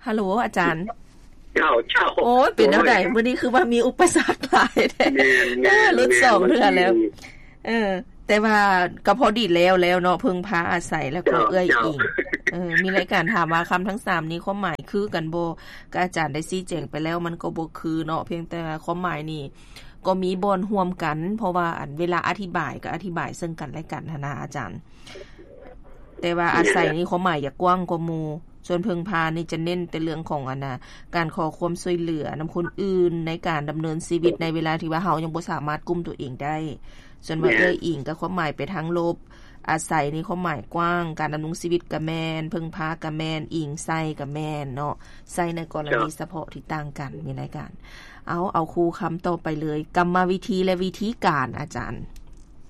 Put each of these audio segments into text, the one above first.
ຮັລໂຫຼ ອາຈານ. ເຈົ້າ ເຈົ້າ. ໂອ້ຍ ເປັນແນວໃດ? ໂອ້ຍ ມື້ນີ້ຄືວ່າມີອຸປະສັກຫຼາຍແທ້. ແມ່ນໆ ເອີ ຫຼຸດສອງເທື່ອແລ້ວ. ເອີ ແຕ່ວ່າກໍພໍດີແລ້ວ ແລ້ວເນາະ ເພິ່ງພາອາໄສ ແລ້ວກໍເອື້ອຍອີງ. ເອີ ມີລາຍການຖາມວ່າຄຳທັງສາມນີ້ຄວາມໝາຍຄືກັນບໍ່? ກໍອາຈານໄດ້ຊີ້ແຈງໄປແລ້ວ ມັນກໍບໍ່ຄືເນາະ, ພຽງແຕ່ວ່າຄວາມໝາຍນີ້ກໍມີບ່ອນຮ່ວມກັນ, ເພາະວ່າອັນເວລາອະທິບາຍກໍອະທິບາຍເຊິ່ງກັນແລະກັນຫັ້ນນະອາຈານ. ແຕ່ວ່າອາໄສນີ້ຄວາມໝາຍຈະກວ້າງກວ່າໝູ່, ສ່ວນເພິ່ງພານີ້ຈະເນັ້ນແຕ່ເລື່ອງຂອງອັນນະ ການຂໍຄວາມຊ່ວຍເຫຼືອນຳຄົນອື່ນໃນການດຳເນີນຊີວິດໃນເວລາທີ່ວ່າເຮົາຍັງບໍ່ສາມາດກຸ້ມຕົວເອງໄດ້. ສ່ວນວ່າເອື້ອຍອີງກໍຄວາມໝາຍໄປທາງລົບ, ອາໄສນີ້ຄວາມໝາຍກວ້າງ, ການດຳລົງຊີວິດກໍແມ່ນ, ເພິ່ງພາກໍແມ່ນ, ອີງໃສ່ກໍແມ່ນເນາະ, ໃຊ້ໃນກໍລະນີສະເພາະທີ່ຕ່າງກັນ. ມີລາຍການ ເອົາ ເອົາຄູ່ຄຳຕໍ່ໄປເລີຍ, ກຳມະວິທີ ແລະ ວິທີການ ອາຈານ.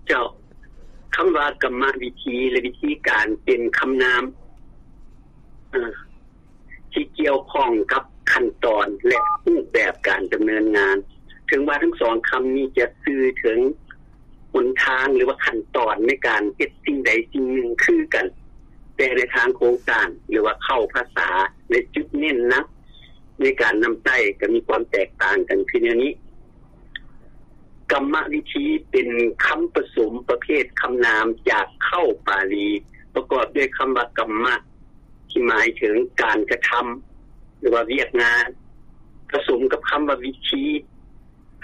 ເຈົ້າ. ຄຳວ່າກຳມະວິທີ ແລະ ວິທີການເປັນຄຳນາມ ເອີ ທີ່ກ່ຽວຂ້ອງກັບຂັ້ນຕອນ ແລະ ຮູບແບບການດຳເນີນງານ. ເຖິງວ່າທັງສອງຄຳນີ້ຈະສື່ເຖິງຫົນທາງ ຫຼືວ່າຂັ້ນຕອນໃນການເຮັດສິ່ງໃດສິ່ງໜຶ່ງຄືກັນ, ແຕ່ໃນທາງໂຄງສ້າງ ຫຼືວ່າເຄົ້າພາສາ ແລະ ຈຸດເນັ້ນໜັກໃນການນຳໃຊ້ກໍມີຄວາມແຕກຕ່າງກັນຄືແນວນີ້. ກຳມະວິທີເປັນຄຳປະສົມປະເພດຄຳນາມຈາກເຄົ້າປາລີ ປະກອບດ້ວຍຄຳວ່າກຳມະ ທີ່ໝາຍເຖິງການກະທຳ ຫຼືວ່າວຽກງານ, ປະສົມກັບຄຳວ່າວິທີ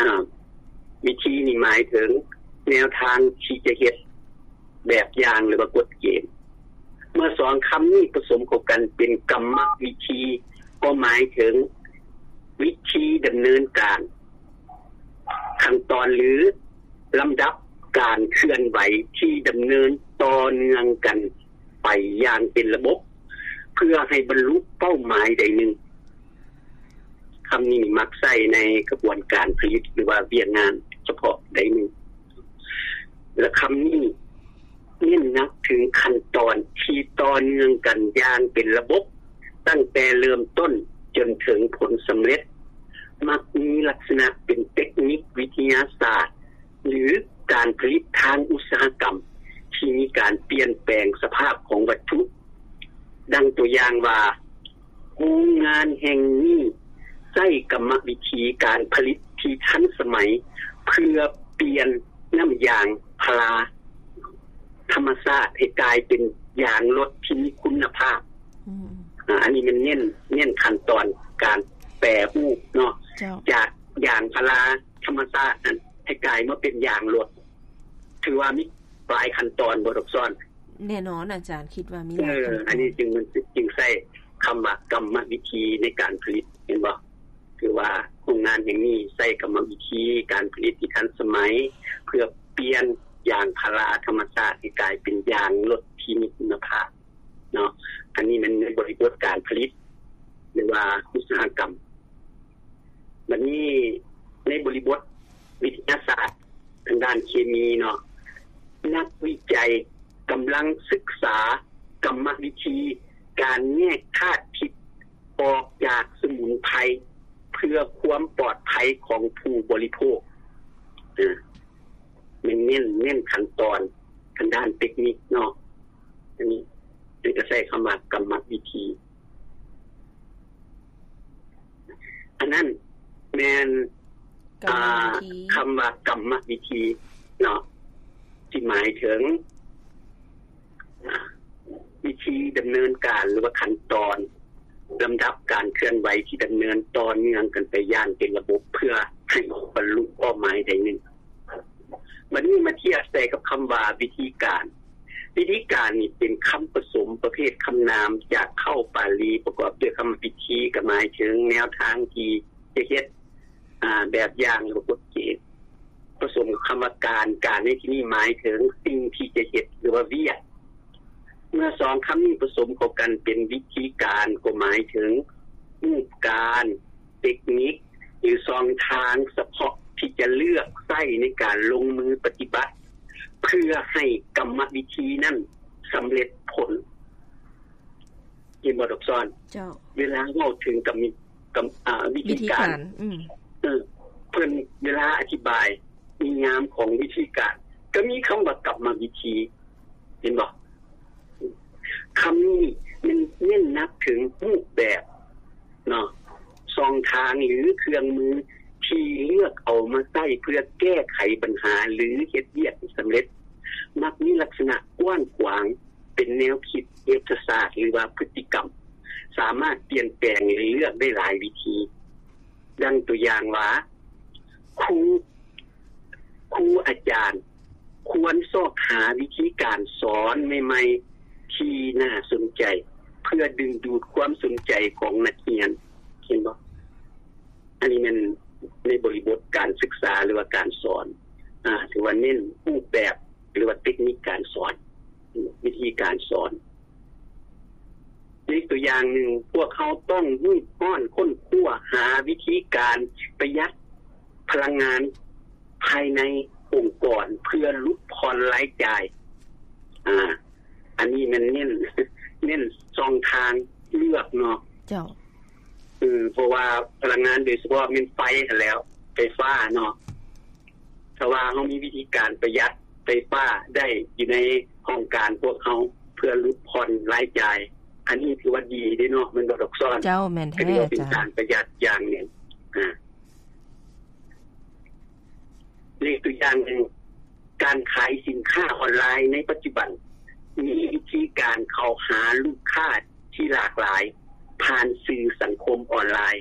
ອາ ວິທີນີ້ໝາຍເຖິງແນວທາງທີ່ຈະເຮັດ, ແບບຢ່າງ ຫຼືວ່າກົດເກນ. ເມື່ອສອງຄຳນີ້ປະສົມເຂົ້າກັນເປັນກຳມະວິທີ ກໍໝາຍເຖິງວິທີດຳເນີນການ, ຂັ້ນຕອນ ຫຼື ລຳດັບການເຄື່ອນໄຫວທີ່ດຳເນີນຕໍ່ເນື່ອງກັນໄປຢ່າງເປັນລະບົບ ເພື່ອໃຫ້ບັນລຸເປົ້າໝາຍໃດໜຶ່ງ. ຄຳນີ້ມັກໃຊ້ໃນຂະບວນການຜະລິດ ຫຼືວ່າວຽກງານສະເພາະໃດໜຶ່ງ. ແລະ ຄຳນີ້ເນັ້ນໜັກເຖິງຂັ້ນຕອນທີ່ຕໍ່ເນື່ອງກັນຢ່າງເປັນລະບົບ ຕັ້ງແຕ່ເລີ່ມຕົ້ນຈົນເຖິງຜົນສຳເລັດ, ມັກມີລັກສະນະເປັນເຕັກນິກວິທະຍາສາດ ຫຼື ການຜະລິດທາງອຸດສາຫະກຳທີ່ມີການປ່ຽນແປງສະພາບຂອງວັດຖຸ. ດັ່ງຕົວຢ່າງວ່າ, ໂຮງງານແຫ່ງນີ້ໃຊ້ກຳມະວິທີການຜະລິດທີ່ທັນສະໄໝ ເພື່ອປ່ຽນນ້ຳຢາງພາລາທຳມະຊາດໃຫ້ກາຍເປັນຢາງລົດທີ່ມີຄຸນນະພາບ. ອືມ. ອາ ອັນນີ້ແມ່ນເນັ້ນ, ເນັ້ນຂັ້ນຕອນການແປຮູບເນາະ, ເຈົ້າ. ຈາກຢາງພາລາທຳມະຊາດນັ້ນ ໃຫ້ກາຍມາເປັນຢາງລົດ. ຖືວ່າມີຫຼາຍຂັ້ນຕອນບໍ່ ດອກຊອນ? ແນ່ນອນອາຈານ, ຄິດວ່າມີຫຼາຍ ເອີ ຂັ້ນຕອນ. ອັນນີ້ຈຶ່ງ ມັນຈຶ່ງໃຊ້ຄຳວ່າກຳມະວິທີໃນການຜະລິດ, ເຫັນບໍ່? ຄືວ່າໂຮງງານແຫ່ງນີ້ໃຊ້ກຳມະວິທີການຜະລິດທີ່ທັນສະໄໝ ເພື່ອປ່ຽນຢາງພາລາທຳມະຊາດໃຫ້ກາຍເປັນຢາງລົດທີ່ມີຄຸນນະພາບເນາະ. ອັນນີ້ແມ່ນໃນບໍລິບົດການຜະລິດ ຫຼືວ່າອຸດສາຫະກຳ. ບັດນີ້ໃນບໍລິບົດວິທະຍາສາດທາງດ້ານເຄມີເນາະ, ນັກວິໄຈກຳລັງສຶກສາກຳມະວິທີການແຍກທາດພິດອອກຈາກສະໝຸນໄພ ເພື່ອຄວາມປອດໄພຂອງຜູ້ບໍລິໂພກ. ເອີ ແມ່ນເນັ້ນ, ເນັ້ນຂັ້ນຕອນທາງດ້ານເຕັກນິກເນາະ. ອັນນີ້ເພິ່ນກໍໃຊ້ຄຳວ່າກຳມະວິທີ. ອັນນັ້ນແມ່ນ ກຳມະວິທີ ອາ ຄຳວ່າກຳມະວິທີເນາະ ທີ່ໝາຍເຖິງ ອາ ວິທີດຳເນີນການ ຫຼືວ່າຂັ້ນຕອນ ລຳດັບການເຄື່ອນໄຫວທີ່ດຳເນີນຕໍ່ເນື່ອງກັນໄປຢ່າງເປັນລະບົບ ເພື່ອໃຫ້ບັນລຸເປົ້າໝາຍໃດໜຶ່ງ. ບັດນີ້ມາທຽບໃສ່ກັບຄຳວ່າວິທີການ. ວິທີການນີ້ເປັນຄຳປະສົມປະເພດຄຳນາມຈາກເຄົ້າປາລີ ປະກອບດ້ວຍຄຳວ່າວິທີ ກໍໝາຍເຖິງແນວທາງທີ່ຈະເຮັດ, ອາ, ແບບຢ່າງ ຫຼືວ່າກົດເກນ, ປະສົມກັບຄຳວ່າການ. ການໃນທີ່ນີ້ໝາຍເຖິງສິ່ງທີ່ຈະເຮັດ ຫຼືວ່າວຽກ. ເມື່ອສອງຄຳນີ້ປະສົມເຂົ້າກັນເປັນວິທີການ ກໍໝາຍເຖິງຮູບການ, ເຕັກນິກ ຫຼື ຊ່ອງທາງສະເພາະທີ່ຈະເລືອກໃຊ້ໃນການລົງມືປະຕິບັດ ເພື່ອໃຫ້ກຳມະວິທີນັ້ນສຳເລັດຜົນ. ເຫັນບໍ່ ດອກຊອນ? ເຈົ້າ. ເວລາເວົ້າເຖິງກຳ, ກຳ, ອາ, ວິທີການ, ວິທີການ. ອືມ. ເອີ, ເພິ່ນເວລາອະທິບາຍນິຍາມຂອງວິທີການ ກໍມີຄຳວ່າກຳມະວິທີ. ເຫັນບໍ່? ຄຳນີ້ແມ່ນເນັ້ນໜັກເຖິງຮູບແບບ ເນາະ ຊ່ອງທາງ ຫຼື ເຄື່ອງມືທີ່ເລືອກເອົາມາໃຊ້ເພື່ອແກ້ໄຂບັນຫາ ຫຼື ເຮັດວຽກໃຫ້ສຳເລັດ ມັກມີລັກສະນະກວ້າງຂວາງ ເປັນແນວຄິດເສດຖະສາດ ຫຼືວ່າພຶດຕິກຳ ສາມາດປ່ຽນແປງ ແລະ ເລືອກໄດ້ຫຼາຍວິທີ. ດັ່ງຕົວຢ່າງວ່າ ຄູ ຄູອາຈານຄວນຊອກຫາວິທີການສອນໃໝ່ໆທີ່ໜ້າສົນໃຈ ເພື່ອດຶງດູດຄວາມສົນໃຈຂອງນັກຮຽນ. ເຫັນບໍ່? ອັນນີ້ແມ່ນໃນບໍລິບົດການສຶກສາ ຫຼືວ່າການສອນ ອາ ຖືວ່າເນັ້ນຮູບແບບ ຫຼືວ່າເຕັກນິກການສອນ ວິທີການສອນ. ອີກຕົວຢ່າງໜຶ່ງ, ພວກເຮົາຕ້ອງຮີບຮ້ອນຄົ້ນຄວ້າຫາວິທີການປະຢັດພະລັງງານພາຍໃນອົງກອນເພື່ອຫຼຸດຜ່ອນລາຍຈ່າຍ. ອາ ອັນນີ້ແມ່ນເນັ້ນ ເນັ້ນຊ່ອງທາງເລືອກເນາະ. ເຈົ້າ. ເອີ ເພາະວ່າພະລັງງານໂດຍສະເພາະແມ່ນໄຟຫັ້ນແຫຼ້ວ ໄຟຟ້າເນາະ. ຖ້າວ່າເຮົາມີວິທີການປະຢັດໄຟຟ້າໄດ້ຢູ່ໃນຫ້ອງການພວກເຮົາ ເພື່ອຫຼຸດຜ່ອນລາຍຈ່າຍ, ອັນນີ້ຖືວ່າດີເດ້ເນາະ ແມ່ນບໍ່ດອກຊອນ? ເຈົ້າ, ແມ່ນແທ້ ກໍຖືວ່າເປັນ ອາຈານ ການປະຢັດຢ່າງໜຶ່ງ. ອາ ອີກຕົວຢ່າງໜຶ່ງ, ການຂາຍສິນຄ້າອອນລາຍໃນປັດຈຸບັນ ມີວິທີການເຂົ້າຫາລູກຄ້າທີ່ຫຼາກຫຼາຍຜ່ານສື່ສັງຄົມອອນລາຍ.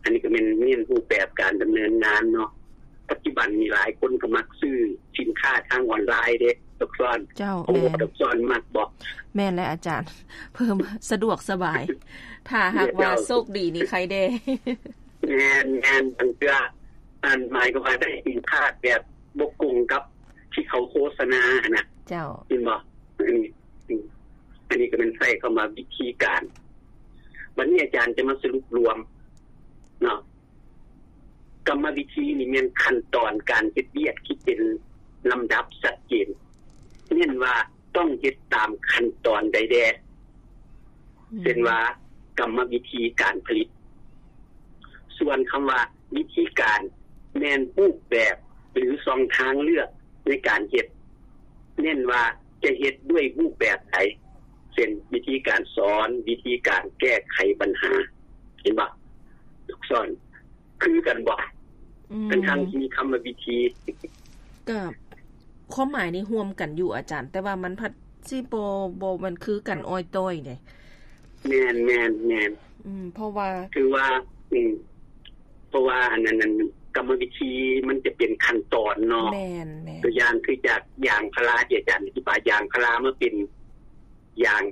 ອັນນີ້ກໍແມ່ນ ແມ່ນຮູບແບບການດຳເນີນງານເນາະ. ປັດຈຸບັນນີ້ຫຼາຍຄົນກໍມັກຊື້ສິນຄ້າທາງອອນລາຍເດ້ ດອກຊອນ. ເຈົ້າ, ເພາະວ່າ ແມ່ນ ດອກຊອນມັກບໍ່? ແມ່ນແຫຼະອາຈານ, ເພີ່ມສະດວກສະບາຍ. ຖ້າຫາກວ່າ ເຈົ້າ ໂຊກດີນີ້ໄຄແດ່. ແມ່ນ, ແມ່ນ. ບາງເທື່ອ ອັນ ໝາຍຄວາມວ່າໄດ້ສິນຄ້າແບບບໍ່ກົງກັບທີ່ເຂົາໂຄສະນາຫັ້ນນະ. ເຈົ້າ. ເຫັນບໍ່? ອັນນີ້ ອືມ ອັນນີ້ກໍແມ່ນໃຊ້ຄຳວ່າວິທີການ. ບັດນີ້ອາຈານຈະມາສະຫຼຸບລວມເນາະ. ກຳມະວິທີນີ້ແມ່ນຂັ້ນຕອນການເຮັດວຽກທີ່ເປັນລຳດັບຊັດເຈນ, ເນັ້ນວ່າຕ້ອງເຮັດຕາມຂັ້ນຕອນໃດແດ່. ອືມ ເຊັ່ນວ່າ ກຳມະວິທີການຜະລິດ. ສ່ວນຄຳວ່າວິທີການ ແມ່ນຮູບແບບ ຫຼື ຊ່ອງທາງເລືອກໃນການເຮັດ, ເນັ້ນວ່າຈະເຮັດດ້ວຍຮູບແບບໃດ ເຊັ່ນ ວິທີການສອນ, ວິທີການແກ້ໄຂບັນຫາ. ເຫັນບໍ່? ທຸກສ່ວນ ຄືກັນບໍ່? ອືມ ທັງໆທີ່ມີຄຳວ່າວິທີ ກໍຄວາມໝາຍນີ້ຮ່ວມກັນຢູ່ອາຈານ, ແຕ່ວ່າມັນພັດຊິບໍ່ ບໍ່ແມ່ນຄືກັນອ້ອຍຕ້ອຍເດ້. ແມ່ນ, ແມ່ນ, ແມ່ນ. ອືມ ເພາະວ່າ ຄືວ່າ ອືມ ເພາະວ່າອັນນັ້ນ ອັນ ກຳມະວິທີມັນຈະເປັນຂັ້ນຕອນເນາະ. ແມ່ນ, ແມ່ນ. ຕົວຢ່າງຄືຈາກຢາງພາລາທີ່ອາຈານອະທິບາຍ, ຢາງພາລາມາເປັນ ຢາງ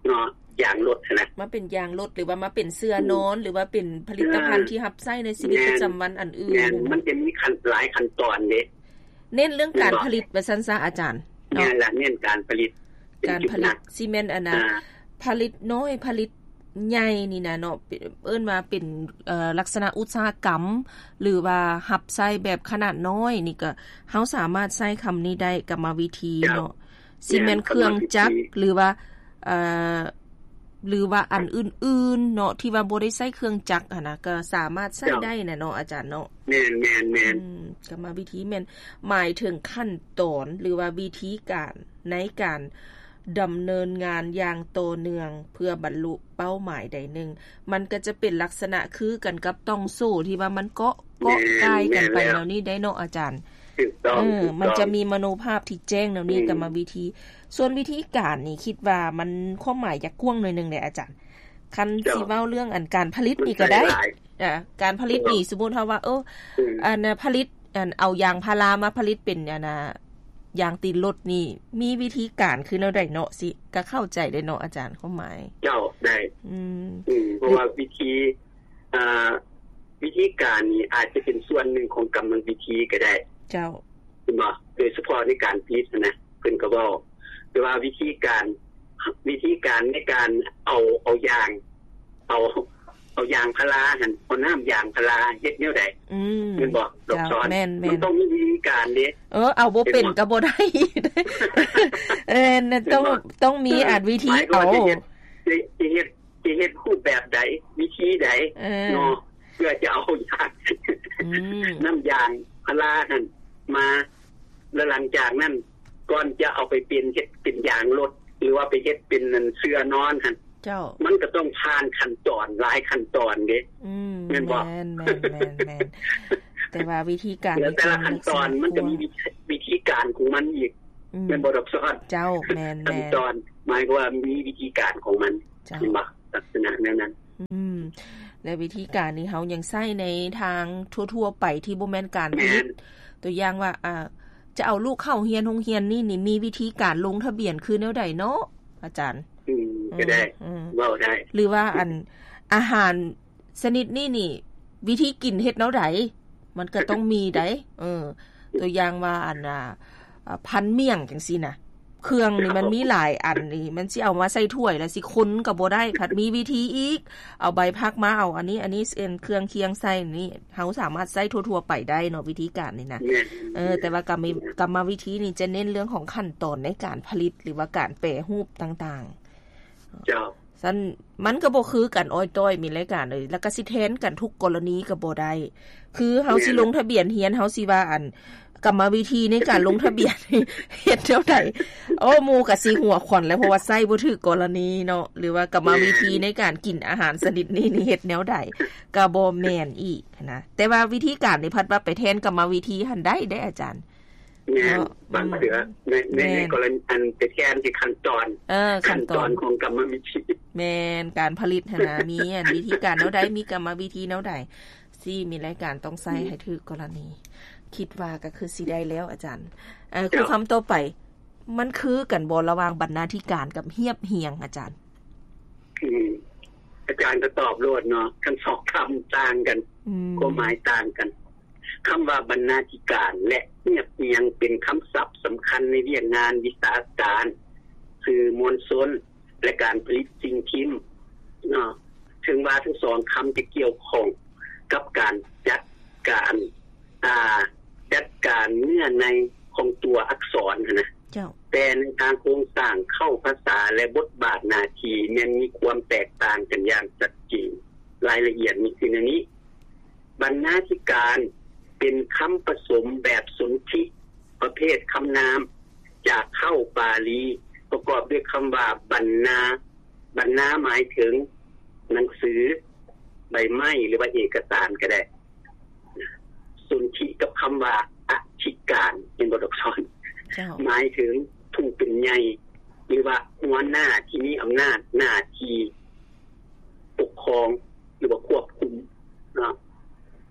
ເນາະ ຢາງລົດຫັ້ນນະ ມາເປັນຢາງລົດ ຫຼືວ່າມາເປັນເສື່ອນອນ ອືມ ຫຼືວ່າເປັນຜະລິດຕະພັນ ເອີ ທີ່ຮັບໃຊ້ໃນຊີວິດ ແມ່ນ ປະຈຳວັນອັນອື່ນ. ແມ່ນ ມັນຈະມີຂັ້ນ ຫຼາຍຂັ້ນຕອນເດ້ ເນັ້ນເລື່ອງການຜະລິດວ່າຊັ້ນຊະອາຈານເນາະ. ແມ່ນລະ ເນັ້ນການຜະລິດ ການຜະລິດຊິແມ່ນອັນນະ ອ່າ ຜະລິດນ້ອຍ ຜະລິດໃຫຍ່ນີ້ນະເນາະ ເອີ້ນວ່າເປັນ ເອີ ລັກສະນະອຸດສາຫະກຳ ຫຼືວ່າຮັບໃຊ້ແບບຂະໜາດນ້ອຍນີ້ ກໍເຮົາສາມາດໃຊ້ຄຳນີ້ໄດ້ ກຳມະວິທີເນາະ. ເຈົ້າ. ຊິແມ່ນເຄື່ອງຈັກ ແມ່ນ ຫຼືວ່າ ເອີ ຫຼືວ່າອັນອື່ນໆເນາະ ທີ່ວ່າບໍ່ໄດ້ໃຊ້ເຄື່ອງຈັກຫັ້ນນະ ກໍສາມາດໃຊ້ ເຈົ້າ ໄດ້ນະເນາະອາຈານເນາະ. ແມ່ນໆໆ ອືມ ກຳມະວິທີແມ່ນໝາຍເຖິງຂັ້ນຕອນ ຫຼືວ່າວິທີການໃນການດຳເນີນງານຢ່າງຕໍ່ເນື່ອງ ເພື່ອບັນລຸເປົ້າໝາຍໃດໜຶ່ງ. ມັນກໍຈະເປັນລັກສະນະຄືກັນກັບຕ່ອງໂສ້ທີ່ວ່າມັນເກາະ ເກາະ ແມ່ນ ກ່າຍກັນໄປ ແມ່ນແລ້ວ ແນວນີ້ໄດ້ເນາະອາຈານ. ຖືກຕ້ອງ ເອີ ຖືກຕ້ອງ ມັນຈະມີມະໂນພາບທີ່ແຈ້ງແນວນີ້ ອືມ ກຳມະວິທີ. ສ່ວນວິທີການນີ້ ຄິດວ່າມັນຄວາມໝາຍຈະກວ້າງໜ້ອຍໜຶ່ງເດ້ອາຈານ. ຄັນ ເຈົ້າ ຊິເວົ້າເລື່ອງອັນການຜະລິດນີ້ກໍໄດ້ ມັນໃຊ້ຫຼາຍ ອ່າ ການຜະລິດນີ້ ເຈົ້າ ສົມມຸດເຮົາວ່າ ເອີ ອືມ ອັນນະ ຜະລິດ ອັນ ເອົາຢາງພາລາມາຜະລິດເປັນ ອັນນະ ຢາງຕີນລົດນີ້ ມີວິທີການຄືແນວໃດເນາະ? ຊິ ກໍເຂົ້າໃຈໄດ້ເນາະອາຈານ ຄວາມໝາຍ. ເຈົ້າ ໄດ້ ອືມ ອືມ ເພາະວ່າວິທີ ອ່າ ວິທີການນີ້ອາດຈະເປັນສ່ວນໜຶ່ງຂອງກຳມະວິທີກໍໄດ້. ເຈົ້າ. ເຫັນບໍ່? ໂດຍສະເພາະໃນການຜະລິດຫັ້ນນະ ເພິ່ນກໍເວົ້າ ແຕ່ວ່າວິທີການ ວິທີການໃນການເອົາ ເອົາຢາງ ເອົາ ເອົາຢາງພາລາຫັ້ນ ເອົານ້ຳຢາງພາລາເຮັດແນວໃດ? ອືມ ແມ່ນບໍ່? ດອກສອນ ເຈົ້າ ແມ່ນໆ ມັນຕ້ອງມີວິທີການເດ້. ເອີ ເອົາບໍ່ເປັນ ເຫັນບໍ່? ກໍບໍ່ໄດ້. ເອີ ຕ້ອງ ເຫັນບໍ່? ຕ້ອງມີ ເອີ ອັນວິທີ ໝາຍຄວາມວ່າ ເອົາ ຈະເຮັດ ຈະ ຈະເຮັດ ຈະເຮັດຮູບແບບໃດ ວິທີໃດ ເອີ ເນາະ ເພື່ອຈະເອົາຢາງ ອືມ ນ້ຳຢາງພາລາຫັ້ນມາ ແລ້ວຫຼັງຈາກນັ້ນ ກ່ອນຈະເອົາໄປເປັນ ເຮັດເປັນຢາງລົດ ຫຼືວ່າໄປເຮັດເປັນອັນເສື່ອນອນຫັ້ນ ເຈົ້າ ມັນກໍຕ້ອງຜ່ານຂັ້ນຕອນຫຼາຍຂັ້ນຕອນເດ້ ອືມ ແມ່ນບໍ່? ແມ່ນໆໆໆ ແຕ່ວ່າວິທີການ ແຕ່ລະຂັ້ນຕອນມັນກໍມີວິທີການຂອງມັນອີກ ອືມ ແມ່ນບໍ່ດອກຊອນ? ເຈົ້າ ແມ່ນໆ ຂັ້ນຕອນ ໝາຍຄວາມວ່າມີວິທີການຂອງມັນ ເຈົ້າ ແມ່ນບໍ່? ລັກສະນະແນວນັ້ນ ອືມ ແລະ ວິທີການນີ້ເຮົາຍັງໃຊ້ໃນທາງທົ່ວໆໄປທີ່ບໍ່ແມ່ນການຜະລິດ ແມ່ນ ຕົວຢ່າງວ່າ ອ່າ ຈະເອົາລູກເຂົ້າຮຽນໂຮງຮຽນນີ້ນີ້ ມີວິທີການລົງທະບຽນຄືແນວໃດເນາະ ອາຈານ? ອືມ ກໍໄດ້ ອືມ ເວົ້າໄດ້ ຫຼືວ່າອັນ ອາຫານຊະນິດນີ້ນີ້ ວິທີກິນເຮັດແນວໃດ? ມັນກໍຕ້ອງມີໃດ໋ ເອີ ຕົວຢ່າງວ່າອັນ ອ່າ ອ່າ ພັນໝ້ຽງຈັ່ງຊີ້ນະ ເຄື່ອງນີ້ມັນມີຫຼາຍອັນນີ້ ມັນຊິເອົາມາໃສ່ຖ້ວຍແລ້ວຊິຄົນກໍບໍ່ໄດ້ ພັດມີວິທີອີກ ເອົາໃບຜັກມາ ເອົາອັນນີ້ ອັນນີ້ເປັນເຄື່ອງຄຽງໃສ່ນີ້ ເຮົາສາມາດໃຊ້ທົ່ວໆໄປໄດ້ເນາະ ວິທີການນີ້ນະ ແມ່ນ ເອີ ແຕ່ວ່າກຳມະ ກຳມະວິທີນີ້ຈະເນັ້ນເລື່ອງຂອງຂັ້ນຕອນໃນການຜະລິດ ຫຼືວ່າການແປຮູບຕ່າງໆ ເຈົ້າ ຊັ້ນມັນກໍບໍ່ຄືກັນອ້ອຍຕ້ອຍ ມີລາຍການເອີຍ ແລ້ວກໍຊິແທນກັນທຸກກໍລະນີກໍບໍ່ໄດ້ ຄືເຮົາຊິ ແມ່ນ ລົງທະບຽນຮຽນ ເຮົາຊິວ່າອັນ ກຳມະວິທີໃນການລົງທະບຽນ ເຮັດແນວໃດ? ໂອ້ ໝູ່ກໍຊິຫົວຂວັນແລ້ວ ເພາະວ່າໃຊ້ບໍ່ຖືກກໍລະນີເນາະ ຫຼືວ່າກຳມະວິທີ ແມ່ນ ໃນການກິນອາຫານຊະນິດນີ້ນີ້ເຮັດແນວໃດ ກໍບໍ່ແມ່ນອີກນະ ແຕ່ວ່າວິທີການນີ້ພັດວ່າໄປແທນກຳມະວິທີຫັ້ນໄດ້ເດ້ອາຈານ ແມ່ນ ເນາະ ບາງເທື່ອ ອືມ ໃນ ໃນ ແມ່ນ ໃນກໍລະນີອັນໄປແທນທີ່ຂັ້ນຕອນ ເອີ ຂັ້ນຕອນ ຂັ້ນຕອນຂອງກຳມະວິທີ ແມ່ນ ການຜະລິດຫັ້ນນະ ມີອັນວິທີການແນວໃດ ມີກຳມະວິທີແນວໃດ ຊິມີລາຍການຕ້ອງໃຊ້ ອືມ ໃຫ້ຖືກກໍລະນີ ຄິດວ່າກໍຄືຊິໄດ້ແລ້ວອາຈານ ເອີ ເຈົ້າ ຄຳຖາມຕໍ່ໄປ ມັນຄືກັນບໍ່ລະຫວ່າງບັນນາທິການກັບຮຽບຮຽງ ອາຈານ? ອືມ ອາຈານກໍຕອບໂລດເນາະ ທັງສອງຄຳຕ່າງກັນ ອືມ ຄວາມໝາຍຕ່າງກັນ. ຄຳວ່າບັນນາທິການ ແລະ ຮຽບຮຽງ ເປັນຄຳສັບສຳຄັນໃນວຽກງານວິຊາການ, ສື່ມວນຊົນ ແລະ ການຜະລິດສິ່ງພິມເນາະ. ເຖິງວ່າທັງສອງຄຳຈະກ່ຽວຂ້ອງກັບການຈັດການ ອ່າ ຈັດການເນື້ອໃນຂອງຕົວອັກສອນຫັ້ນນະ ເຈົ້າ ແຕ່ໃນທາງໂຄງສ້າງເຄົ້າພາສາ ແລະ ບົດບາດໜ້າທີ່ແມ່ນມີຄວາມແຕກຕ່າງກັນຢ່າງຊັດເຈນ. ລາຍລະອຽດມີຄືແນວນີ້. ບັນນາທິການ ເປັນຄຳປະສົມແບບສົນທິ ປະເພດຄຳນາມ ຈາກເຄົ້າປາລີ ປະກອບດ້ວຍຄຳວ່າ ບັນນາ. ບັນນາໝາຍເຖິງໜັງສື, ໃບໄມ້ ຫຼືວ່າເອກະສານກໍໄດ້. ສົນທິກັບຄຳວ່າ ອະທິການ ເຫັນບໍ່ດອກຊອນ? ເຈົ້າ. ໝາຍເຖິງຜູ້ເປັນໃຫຍ່ ຫຼືວ່າຫົວໜ້າທີ່ມີອຳນາດໜ້າທີ່ປົກຄອງ ຫຼືວ່າຄວບຄຸມເນາະ.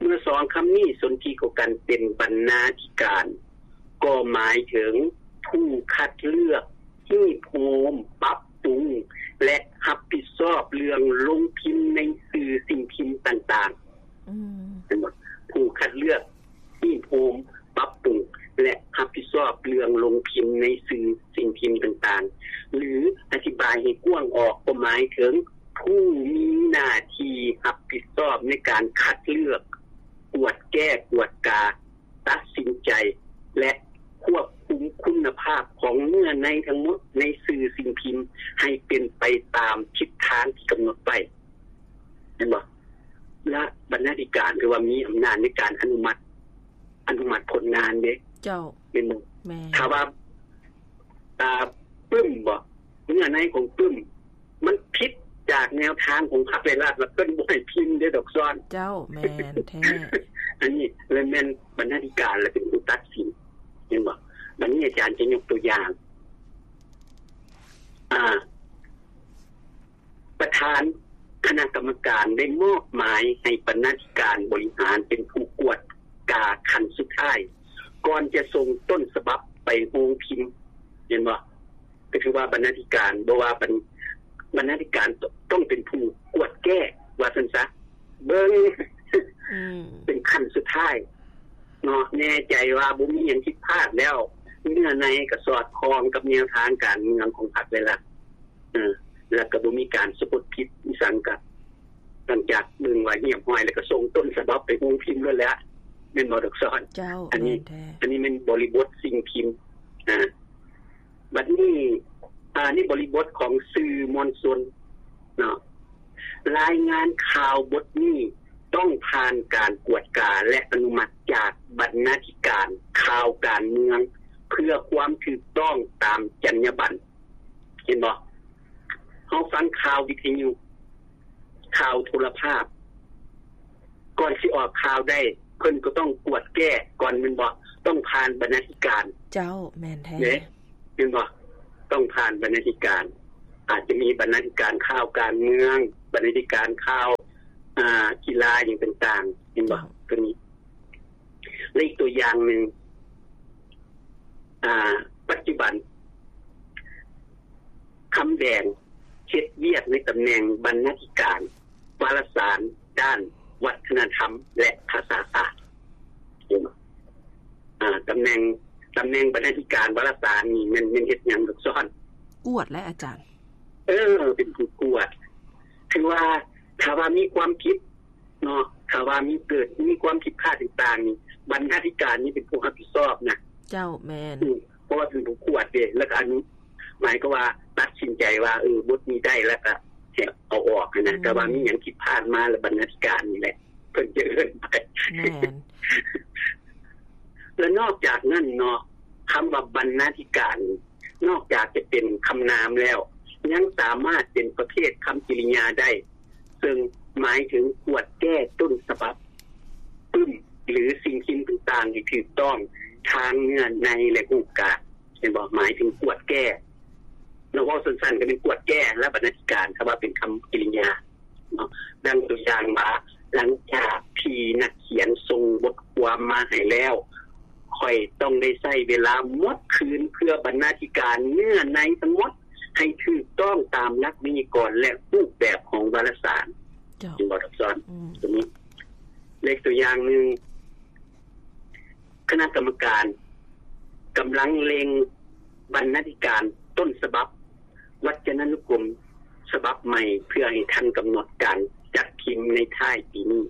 ເມື່ອສອງຄຳນີ້ສົນທິເຂົ້າກັນເປັນບັນນາທິການ ກໍໝາຍເຖິງຜູ້ຄັດເລືອກ, ຮີບໂຮມ, ປັບປຸງ ແລະ ຮັບຜິດຊອບເລື່ອງລົງພິມໃນສື່ສິ່ງພິມຕ່າງໆ. ອືມ. ເຫັນບໍ່? ຜູ້ຄັດເລືອກ, ຮີບໂຮມ, ປັບປຸງ ແລະ ຮັບຜິດຊອບເລື່ອງລົງພິມໃນສື່ສິ່ງພິມຕ່າງໆ ຫຼື ອະທິບາຍໃຫ້ກວ້າງອອກກໍໝາຍເຖິງຜູ້ມີໜ້າທີ່ຮັບຜິດຊອບໃນການຄັດເລືອກ, ກວດແກ້, ກວດກາ, ຕັດສິນໃຈ ແລະ ຄວບຄຸມຄຸນນະພາບຂອງເນື້ອໃນທັງໝົດໃນສື່ສິ່ງພິມໃຫ້ເປັນໄປຕາມທິດທາງທີ່ກຳນົດໄວ້. ແມ່ນບໍ່? ແລະ ບັນນາທິການຖືວ່າມີອຳນາດໃນການອະນຸມັດ, ອະນຸມັດຜົນງານເດ້. ເຈົ້າ. ແມ່ນບໍ່? ແມ່ນ. ຖ້າວ່າ ອ່າ ປຶ້ມບໍ ເນື້ອໃນຂອງປຶ້ມ ມັນຜິດຈາກແນວທາງຂອງພັກໄວຣັສ ລະເພິ່ນບໍ່ໃຫ້ພິມເດ້ດອກຊອນ. ເຈົ້າ, ແມ່ນແທ້. ອັນນີ້ລະແມ່ນບັນນາທິການລະເປັນຜູ້ຕັດສິນ, ແມ່ນບໍ່? ບັດນີ້ອາຈານຈະຍົກຕົວຢ່າງ ອ່າ ປະທານຄະນະກຳມະການໄດ້ມອບໝາຍໃຫ້ບັນນາທິການບໍລິຫານເປັນຜູ້ກວດກາຂັ້ນສຸດທ້າຍ ກ່ອນຈະສົ່ງຕົ້ນສະບັບໄປໂຮງພິມ, ແມ່ນບໍ່? ກໍຖືວ່າບັນນາທິການ ບໍ່ວ່າບັນ ບັນນາທິການຕ້ອງເປັນຜູ້ກວດແກ້ ວ່າຊັ້ນຊະ, ເບິ່ງ ອືມ ເປັນຂັ້ນສຸດທ້າຍເນາະ, ແນ່ໃຈວ່າບໍ່ມີຫຍັງຜິດພາດແລ້ວ, ເນື້ອໃນກໍສອດຄ່ອງກັບແນວທາງການເມືອງຂອງພັກໄວຣັສ ເອີ ແລ້ວກໍບໍ່ມີການສະກົດຜິດອີ່ສັງ, ກໍຫຼັງຈາກເບິ່ງວ່າຮຽບຮ້ອຍແລ້ວ ກໍສົ່ງຕົ້ນສະບັບໄປໂຮງພິມໂລດແຫຼະ, ແມ່ນບໍ່ດອກຊອນ? ເຈົ້າ, ອັນນີ້ ແມ່ນແທ້. ອັນນີ້ແມ່ນບໍລິບົດສິ່ງພິມ. ອ່າ ບັດນີ້ ອ່າ ໃນບໍລິບົດຂອງສື່ມວນຊົນເນາະ, ລາຍງານຂ່າວບົດນີ້ຕ້ອງຜ່ານການກວດກາ ແລະ ອະນຸມັດຈາກບັນນາທິການຂ່າວການເມືອງ ເພື່ອຄວາມຖືກຕ້ອງຕາມຈັນຍາບັນ. ເຫັນບໍ່? ເຮົາຟັງຂ່າວວິທະຍຸ ຂ່າວໂທລະພາບ ກ່ອນຊິອອກຂ່າວໄດ້ ເພິ່ນກໍຕ້ອງກວດແກ້ກ່ອນແມ່ນບໍ່? ຕ້ອງຜ່ານບັນນາທິການ. ເຈົ້າ ແມ່ນແທ້. ເດ້ ແມ່ນບໍ່? ຕ້ອງຜ່ານບັນນາທິການ ອາດຈະມີບັນນາທິການຂ່າວການເມືອງ ບັນນາທິການຂ່າວ ອ່າ ກິລາຫຍັງຕ່າງໆ ແມ່ນບໍ່? ເຈົ້າ ຕົວນີ້ ແລະ ອີກຕົວຢ່າງໜຶ່ງ ອາ ປັດຈຸບັນ ຄຳແດງເຮັດວຽກໃນຕຳແໜ່ງບັນນາທິການວາລະສານດ້ານວັດທະນະທຳ ແລະ ພາສາສາດ. ເຫັນບໍ່? ອາ ຕຳແໜ່ງ ຕຳແໜ່ງບັນນາທິການວາລະສານນີ້ແມ່ນ ແມ່ນເຮັດຫຍັງ ລູກສອນ? ກວດແຫຼະອາຈານ. ເອີ ເປັນຜູ້ກວດ. ຄືວ່າ ຖ້າວ່າມີຄວາມຜິດ ເນາະ ຖ້າວ່າມີເກີດ ມີຄວາມຜິດພາດຕ່າງໆນີ້ ບັນນາທິການນີ້ເປັນຜູ້ຮັບຜິດຊອບນະ. ເຈົ້າ ແມ່ນ. ອືມ ເພາະວ່າເປັນຜູ້ກວດເດ້ ແລ້ວກໍອະນຸ ໝາຍຄວາມວ່າຕັດສິນໃຈວ່າ ເອີ ບົດນີ້ໄດ້ ແລ້ວກໍໃຫ້ເອົາອອກຫັ້ນນະ. ອືມ ແຕ່ວ່າມີຫຍັງຜິດພາດມາ ແລ້ວບັນນາທິການນີ້ແຫຼະ ເພິ່ນຈະເອີ້ນໄປ. ແມ່ນ. ແລະ ນອກຈາກນັ້ນເນາະ ຄຳວ່າບັນນາທິການ ນອກຈາກຈະເປັນຄຳນາມແລ້ວ ຍັງສາມາດເປັນປະເພດຄຳກິລິຍາໄດ້ ເຊິ່ງໝາຍເຖິງກວດແກ້ຕົ້ນສະບັບປຶ້ມ ຫຼື ສິ່ງພິມຕ່າງໆ ໃຫ້ຖືກຕ້ອງທາງເນື້ອໃນ ແລະ ຮູບການ. ເຫັນບໍ່? ໝາຍເຖິງກວດແກ້. ເນາະ ເວົ້າສັ້ນໆ ກໍແມ່ນກວດແກ້ແລະບັນນາທິການ ຖ້າວ່າເປັນຄຳກິລິຍາ. ເນາະ ດັ່ງຕົວຢ່າງວ່າ ຫຼັງຈາກທີ່ນັກຂຽນສົ່ງບົດຄວາມມາໃຫ້ແລ້ວ ຂ້ອຍຕ້ອງໄດ້ໃຊ້ເວລາໝົດຄືນເພື່ອບັນນາທິການເນື້ອໃນທັງໝົດ ໃຫ້ຖືກຕ້ອງຕາມຫຼັກໄວຍາກອນ ແລະ ຮູບແບບຂອງວາລະສານ. ເຈົ້າ. ເຫັນບໍ່ ດອກຊອນ? ອືມ. ຕົວນີ້ ເລກຕົວຢ່າງໜຶ່ງ ຄະນະກຳມະການກຳລັງເລັ່ງບັນນາທິການຕົ້ນສະບັບວັດຈະນານຸກົມສະບັບໃໝ່ ເພື່ອໃຫ້ທັນກຳນົດການຈັດພິມໃນທ້າຍປີນີ້.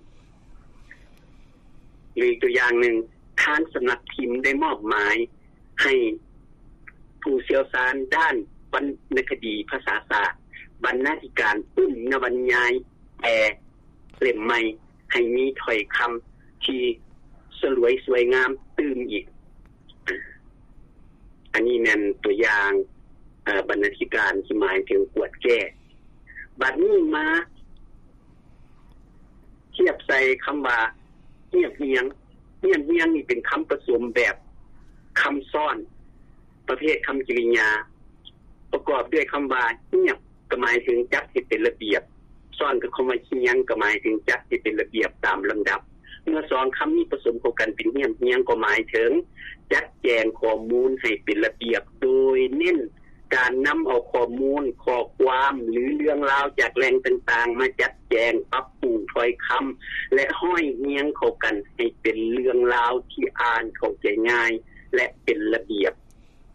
ຫຼື ອີກຕົວຢ່າງໜຶ່ງ ທາງສຳນັກພິມໄດ້ມອບໝາຍໃຫ້ຜູ້ຊ່ຽວຊານດ້ານວັນນະຄະດີພາສາສາດ ບັນນາທິການປຶ້ມນະວັນຍາຍແປ ເຫຼັ້ມໃໝ່ ໃຫ້ມີຖ້ອຍຄຳທີ່ສະຫຼວຍສວຍງາມຕື່ມອີກ. ອັນນີ້ແມ່ນຕົວຢ່າງ ເອີ ບັນນາທິການທີ່ໝາຍເຖິງກວດແກ້. ບັດນີ້ມາທຽບໃສ່ຄຳວ່າ ຮຽບຮຽງ. ຮຽບຮຽງນີ້ເປັນຄຳປະສົມແບບຄຳຊ້ອນ ປະເພດຄຳກິລິຍາ ປະກອບດ້ວຍຄຳວ່າ ຮຽບ ກໍໝາຍເຖິງຈັດໃຫ້ເປັນລະບຽບ, ຊ້ອນກັບຄຳວ່າຮຽງ ກໍໝາຍເຖິງຈັດໃຫ້ເປັນລະບຽບຕາມລຳດັບ. ເມື່ອສອງຄຳນີ້ປະສົມເຂົ້າກັນເປັນຮຽບຮຽງ ກໍໝາຍເຖິງຈັດແຈງຂໍ້ມູນໃຫ້ເປັນລະບຽບ ໂດຍເນັ້ນການນຳເອົາຂໍ້ມູນ, ຂໍ້ຄວາມ ຫຼື ເລື່ອງລາວຈາກແຫຼ່ງຕ່າງໆ ມາຈັດແຈງ, ປັບປຸງຖ້ອຍຄຳ ແລະ ຮ້ອຍຮຽງເຂົ້າກັນໃຫ້ເປັນເລື່ອງລາວທີ່ອ່ານເຂົ້າໃຈງ່າຍ ແລະ ເປັນລະບຽບ.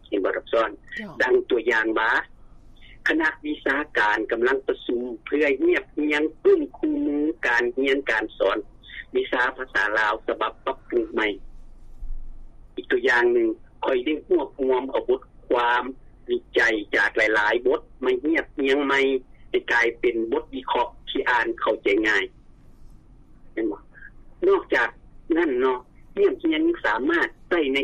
ເຫັນບໍ່ ດອກຊອນ? ເຈົ້າ. ດັ່ງຕົວຢ່າງວ່າ ຄະນະວິຊາການກຳລັງປະຊຸມເພື່ອຮຽບຮຽງປຶ້ມຄູ່ມືການຮຽນການສອນວິຊາພາສາລາວສະບັບປັບປຸງໃໝ່. ອີກຕົວຢ່າງໜຶ່ງ, ຂ້ອຍໄດ້ຮວບຮວມເອົາບົດຄວາມວິໄຈຈາກຫຼາຍໆບົດມາຮຽບຮຽງໃໝ່ໃຫ້ກາຍເປັນບົດວິເຄາະທີ່ອ່ານເຂົ້າໃຈງ່າຍ. ແມ່ນບໍ່? ນອກຈາກນັ້ນເນາະ, ຮຽບຮຽງຍັງສາມາດໃຊ້ໃນ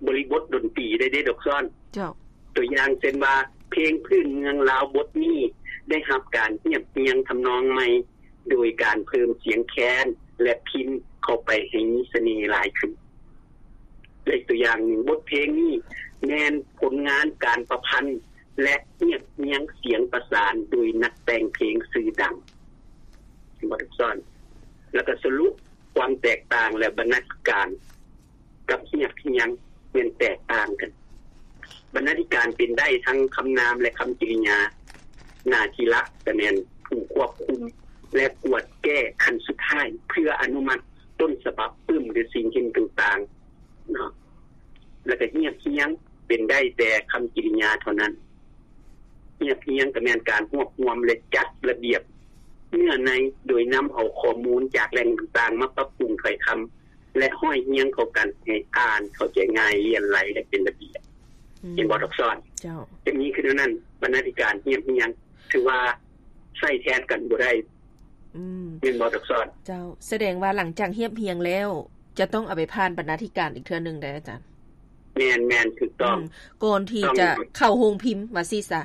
ບໍລິບົດດົນຕີໄດ້ເດ້ ດອກຊອນ. ເຈົ້າ. ຕົວຢ່າງເຊັ່ນວ່າ ເພງພື້ນເມືອງລາວບົດນີ້ໄດ້ຮັບການຮຽບຮຽງທຳນອງໃໝ່ ໂດຍການເພີ່ມສຽງແຄນ ແລະ ພິນເຂົ້າໄປໃຫ້ມີສະເໜ່ຫຼາຍຂຶ້ນ. ແລະ ອີກຕົວຢ່າງໜຶ່ງ, ບົດເພງນີ້ແມ່ນຜົນງານການປະພັນ ແລະ ຮຽບຮຽງສຽງປະສານໂດຍນັກແຕ່ງເພງຊື່ດັງ. ເຫັນບໍ່ ດອກຊອນ? ແລ້ວກໍສະຫຼຸບຄວາມແຕກຕ່າງ ແລະ ບັນນາທິການກັບຮຽບຮຽງແມ່ນແຕກຕ່າງກັນ. ບັນນາທິການເປັນໄດ້ທັງຄຳນາມ ແລະ ຄຳກິລິຍາ. ໜ້າທີ່ຫຼັກກໍແມ່ນຜູ້ຄວບຄຸມ ແລະ ກວດແກ້ຂັ້ນສຸດທ້າຍ ເພື່ອອະນຸມັດຕົ້ນສະບັບປຶ້ມ ຫຼື ສິ່ງພິມຕ່າງໆເນາະ. ແລ້ວກໍຮຽບຮຽງເປັນໄດ້ແຕ່ຄຳກິລິຍາເທົ່ານັ້ນ. ຮຽບຮຽງກໍແມ່ນການຮວບຮວມ ແລະ ຈັດລະບຽບເນື້ອໃນ ໂດຍນຳເອົາຂໍ້ມູນຈາກແຫຼ່ງຕ່າງໆມາປັບປຸງຖ້ອຍຄຳ ແລະ ຮ້ອຍຮຽງເຂົ້າກັນໃຫ້ອ່ານເຂົ້າໃຈງ່າຍ, ລຽນໄຫຼ ແລະ ເປັນລະບຽບ. ອືມ. ເຫັນບໍ່ ດອກຊອນ? ເຈົ້າ. ຈະມີຄືແນວນັ້ນ, ບັນນາທິການຮຽບຮຽງ ຖືວ່າໃຊ້ແທນກັນບໍ່ໄດ້. ອືມ. ແມ່ນບໍ່ ດອກຊອນ? ເຈົ້າ. ສະແດງວ່າຫຼັງຈາກຮຽບຮຽງແລ້ວ ຈະຕ້ອງເອົາໄປຜ່ານບັນນາທິການອີກເທື່ອໜຶ່ງໄດ໋ອາຈານ? ແມ່ນໆ ຖືກຕ້ອງ. ອືມ. ກ່ອນທີ່ຈະເຂົ້າໂຮງພິມ ວ່າຊີ້ຊະ.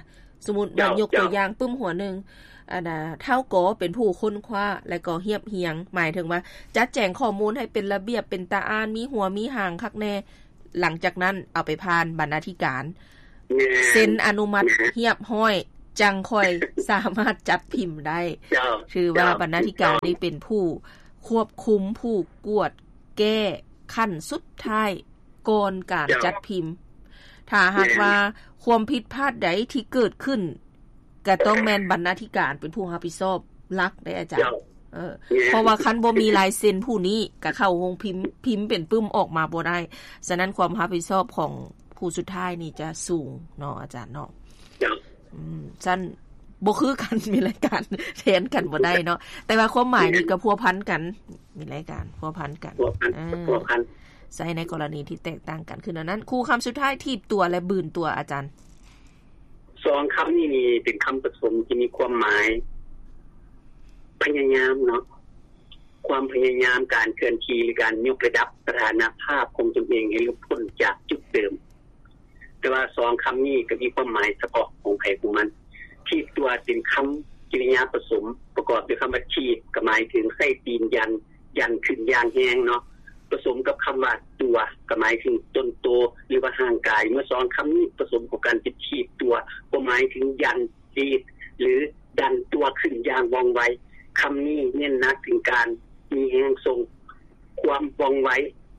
ສົມມຸດວ່າຍົກຕົວຢ່າງປຶ້ມຫົວໜຶ່ງ ອັນນ່າ ທ້າວກໍເປັນຜູ້ຄົ້ນຄວ້າ ແລະກໍຮຽບຮຽງ ໝາຍເຖິງວ່າຈັດແຈງຂໍ້ມູນໃຫ້ເປັນລະບຽບ ເປັນຕາອ່ານ ມີຫົວມີຫາງຄັກແນ່ ຫຼັງຈາກນັ້ນເອົາໄປຜ່ານບັນນາທິການ ເຊັນອະນຸມັດຮຽບຮ້ອຍ ຈັ່ງຄ່ອຍສາມາດຈັດພິມໄດ້. ຖືວ່າບັນນາທິການນີ້ເປັນຜູ້ຄວບຄຸມ ຜູ້ກວດແກ້ຂັ້ນສຸດທ້າຍ ກ່ອນການຈັດພິມ. ຖ້າຫາກວ່າຄວາມຜິດພາດໃດທີ່ເກີດຂຶ້ນ ກະຕ້ອງແມ່ນບັນນາທິການເປັນຜູ້ຮັບຜິດຊອບຫຼັກເດ້ອາຈານ. ເອີ ເພາະວ່າຄັນບໍ່ມີລາຍເຊັນຜູ້ນີ້ ກະເຂົ້າໂຮງພິມ ພິມເປັນປຶ້ມອອກມາບໍ່ໄດ້. ສະນັ້ນຄວາມຮັບຜິດຊອບຂອງຜູ້ສຸດທ້າຍນີ້ຈະສູງເນາະອາຈານເນາະ. ເຈົ້າ ອືມ ຊັ້ນບໍ່ຄືກັນ ມີລາຍການແທນກັນບໍ່ໄດ້ເນາະ ແຕ່ວ່າຄວາມໝາຍນີ້ກໍພົວພັນກັນ ມີລາຍການພົວພັນກັນ ພົວພັນ ເອີ ພົວພັນ ໃຊ້ໃນກໍລະນີທີ່ແຕກຕ່າງກັນ. ຄືແນວນັ້ນ ຄູ່ຄຳສຸດທ້າຍ ຖີບຕົວ ແລະ ບືນຕົວ ອາຈານ. ສອງຄຳນີ້ນີ້ເປັນຄຳປະສົມທີ່ມີຄວາມໝາຍພະຍາຍາມເນາະ ຄວາມພະຍາຍາມ ການເຄື່ອນທີ່ ຫຼື ການຍົກລະດັບສະຖານະພາບຂອງຕົນເອງໃຫ້ຫຼຸດພົ້ນຈາກຈຸດເດີມ. ແຕ່ວ່າສອງຄຳນີ້ກໍມີຄວາມໝາຍສະເພາະຂອງໃຜຂອງມັນ. ຖີບຕົວເປັນຄຳກິລິຍາປະສົມ ປະກອບດ້ວຍຄຳວ່າຖີບ ກໍໝາຍເຖິງໃຊ້ຕີນຢັນ ຢັນຂຶ້ນຢ່າງແຮງເນາະ ປະສົມກັບຄຳວ່າຕົວ ກໍໝາຍເຖິງຕົນໂຕ ຫຼືວ່າຮ່າງກາຍ. ເມື່ອສອງຄຳນີ້ປະສົມເຂົ້າກັນເປັນຖີບຕົວ ກໍໝາຍເຖິງຢັນ ດີດ ຫຼື ດັນຕົວຂຶ້ນຢ່າງວ່ອງໄວ. ຄຳນີ້ເນັ້ນໜັກເຖິງການມີແຮງສົ່ງ, ຄວາມວ່ອງໄວ,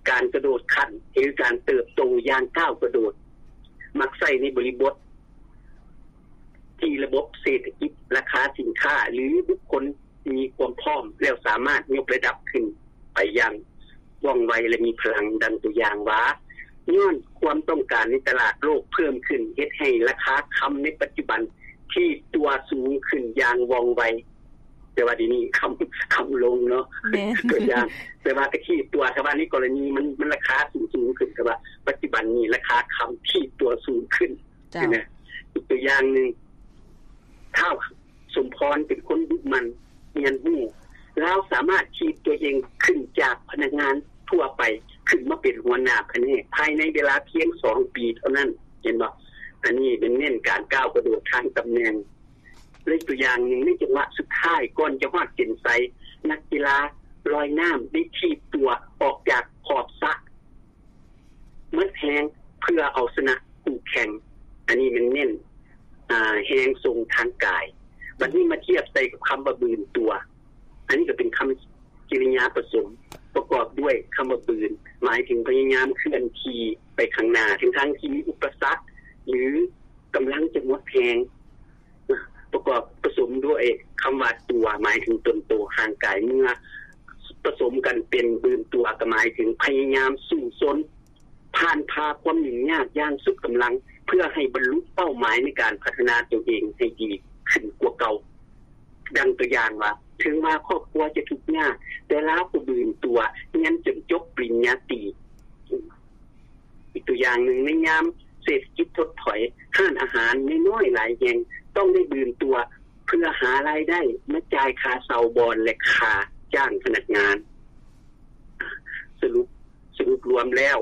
ການກະໂດດຂັ້ນ ຫຼື ການເຕີບໂຕຢ່າງກ້າວກະໂດດ, ມັກໃຊ້ໃນບໍລິບົດທີ່ລະບົບເສດຖະກິດ, ລາຄາສິນຄ້າ ຫຼື ບຸກຄົນມີຄວາມພ້ອມແລ້ວສາມາດຍົກລະດັບຂຶ້ນໄປຢ່າງວ່ອງໄວ ແລະ ມີພະລັງ. ດັ່ງຕົວຢ່າງວ່າ, ຍ້ອນຄວາມຕ້ອງການໃນຕະຫຼາດໂລກເພີ່ມຂຶ້ນ ເຮັດໃຫ້ລາຄາຄຳໃນປັດຈຸບັນຖີບຕົວສູງຂຶ້ນຢ່າງວ່ອງໄວ. ແຕ່ວ່າດຽວນີ້ຄຳ ຄຳລົງເນາະ ແມ່ນ ຕົວຢ່າງ ແຕ່ວ່າກະຖີບຕົວ ຖ້າວ່າໃນກໍລະນີມັນ ມັນລາຄາສູງໆຂຶ້ນ ແຕ່ວ່າປັດຈຸບັນນີ້ລາຄາຄຳຖີບຕົວສູງຂຶ້ນ. ເຈົ້າ ເຫັນໄໝ? ອີກຕົວຢ່າງໜຶ່ງ ທ້າວສົມພອນເປັນຄົນດຸໝັ່ນຮຽນຮູ້ ລາວສາມາດຖີບຕົວເອງຂຶ້ນຈາກພະນັກງານທົ່ວໄປ ຂຶ້ນມາເປັນຫົວໜ້າພະແນກ ພາຍໃນເວລາພຽງສອງປີເທົ່ານັ້ນ. ເຫັນບໍ່? ອັນນີ້ແມ່ນເນັ້ນການກ້າວກະໂດດທາງຕຳແໜ່ງ. ແລະ ອີກຕົວຢ່າງໜຶ່ງ ໃນຈັງຫວະສຸດທ້າຍກ່ອນຈະຮອດເສັ້ນໄຊ, ນັກກິລາລອຍນ້ຳໄດ້ຖີບຕົວອອກຈາກຂອບສະໝົດແຮງເພື່ອເອົາຊະນະຄູ່ແຂ່ງ. ອັນນີ້ແມ່ນເນັ້ນ ອາ ແຮງສົ່ງທາງກາຍ. ບັດນີ້ມາທຽບໃສ່ກັບຄຳວ່າບືນຕົວ. ອັນນີ້ກໍເປັນຄຳກິລິຍາປະສົມ ປະກອບດ້ວຍຄຳວ່າບືນ ໝາຍເຖິງພະຍາຍາມເຄື່ອນທີ່ໄປຂ້າງໜ້າ ທັງໆທີ່ມີອຸປະສັກ ຫຼື ກຳລັງຈະໝົດແຮງ. ປະກອບປະສົມດ້ວຍຄຳວ່າຕົວ ໝາຍເຖິງຕົນໂຕຮ່າງກາຍ. ເມື່ອປະສົມກັນເປັນບືນຕົວ ກໍໝາຍເຖິງພະຍາຍາມສູ້ຊົນ ຜ່ານຜ່າຄວາມຫຍຸ້ງຍາກຢ່າງສຸດກຳລັງ ເພື່ອໃຫ້ບັນລຸເປົ້າໝາຍໃນການພັດທະນາຕົວເອງໃຫ້ດີຂຶ້ນກວ່າເກົ່າ. ດັ່ງຕົວຢ່າງວ່າ, ເຖິງວ່າຄອບຄົວຈະທຸກຍາກ, ແຕ່ລາວກໍບືນຕົວຮຽນຈົນຈົບປະລິນຍາຕີ. ອີກຕົວຢ່າງໜຶ່ງ, ໃນຍາມເສດຖະກິດຖົດຖອຍ, ຮ້ານອາຫານນ້ອຍໆຫຼາຍແຫ່ງຕ້ອງໄດ້ບືນຕົວ ເພື່ອຫາລາຍໄດ້ມາຈ່າຍຄ່າເຊົ່າບ່ອນ ແລະ ຄ່າຈ້າງພະນັກງານ. ສະຫຼຸບ, ສະຫຼຸບລວມແລ້ວ,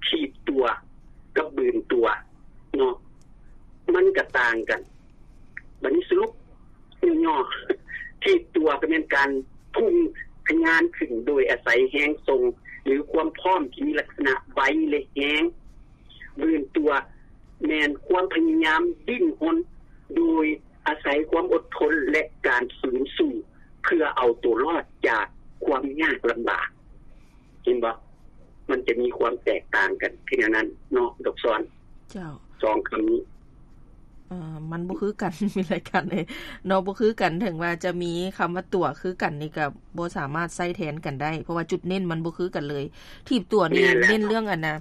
ຖີບຕົວກັບບືນຕົວເນາະ, ມັນກະຕ່າງກັນ. ບັດນີ້ສະຫຼຸບຫຍໍ້ໆ, ຖີບຕົວກໍແມ່ນການພຸ່ງທະຍານຂຶ້ນໂດຍອາໄສແຮງສົ່ງ ຫຼື ຄວາມພ້ອມທີ່ມີລັກສະນະໄວ ແລະ ແຮງ. ບືນຕົວ ແມ່ນຄວາມພະຍາຍາມດີ້ນຮົນ ໂດຍອາໄສຄວາມອົດທົນ ແລະ ການຟື້ນສູ້ ເພື່ອເອົາໂຕລອດຈາກຄວາມຍາກລຳບາກ. ເຫັນບໍ່? ມັນຈະມີຄວາມແຕກຕ່າງກັນຄືແນວນັ້ນເນາະ ດອກຊອນ. ເຈົ້າ. ສອງຄຳນີ້ ເອີ ມັນບໍ່ຄືກັນ ມີລາຍການເອີຍເນາະ ບໍ່ຄືກັນ. ເຖິງວ່າຈະມີຄຳວ່າຕົວຄືກັນນີ້ ກໍບໍ່ສາມາດໃຊ້ແທນກັນໄດ້ ເພາະວ່າຈຸດເນັ້ນມັນບໍ່ຄືກັນເລີຍ. ຖີບຕົວນີ້ ແມ່ນແລ້ວ ເນັ້ນເລື່ອງອັນນ່າ